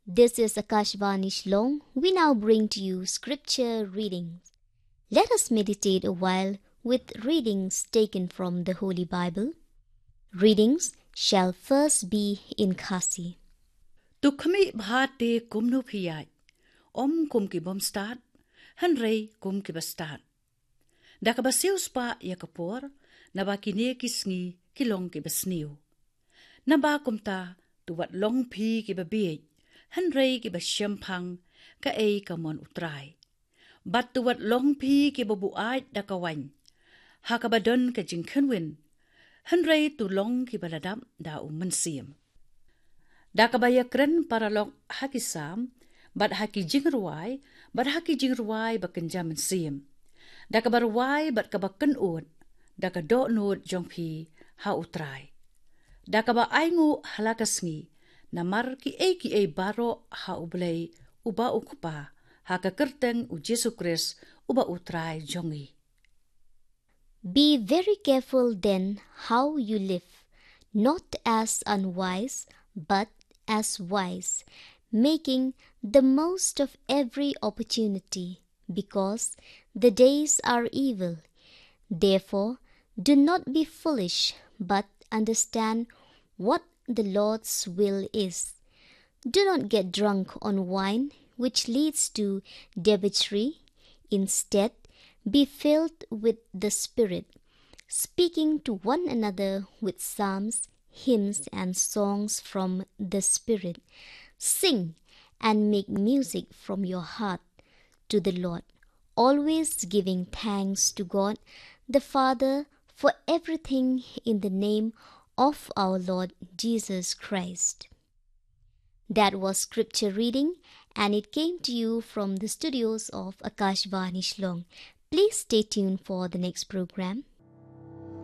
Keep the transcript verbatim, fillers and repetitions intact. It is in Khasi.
This is Akashvani Shillong. We now bring to you scripture readings. Let us meditate a while with readings taken from the Holy Bible. Readings shall first be in Khasi. To khmih bha te kumno phi ïaid, ym kum ki bym stad, hynrei kum ki ba stad. Da kaba siew spah ïa ka por, naba kine ki sngi ki long ki ba sniew. Naba kumta, to wat long phi ki ba bieit, hynrei ki ba shemphang, kaei ka mon U Trai. Bad to wat long phi ki ba buaid da ka waiñ, ha kaba don ka jingkhynwin, hynrei to long ki ba la dap da U Mynsiem. Da kaba ïakren paralok ha ki Salm, bad ha ki jingrwai, bad ha ki jingrwai ba kynja mynsiem. Da kaba rwai bad kaba kynud, da ka dohnud jong phi ha U Trai. Da kaba ainguh ha la ka sngi, namar kiei kiei baroh ha U Blei, uba U Kpa, ha ka kyrteng U Jisu Khrist, uba U Trai jong ngi. Be very careful then how you live, not as unwise, but as wise, making the most of every opportunity, because the days are evil. Therefore, do not be foolish, but understand what the Lord's will is. Do not get drunk on wine, which leads to debauchery. Instead, be filled with the Spirit, speaking to one another with psalms, hymns, and songs from the Spirit. Sing and make music from your heart to the Lord, always giving thanks to God the Father for everything in the name of our Lord Jesus Christ. That was scripture reading, and it came to you from the studios of Akashvani Shillong. Please stay tuned for the next program.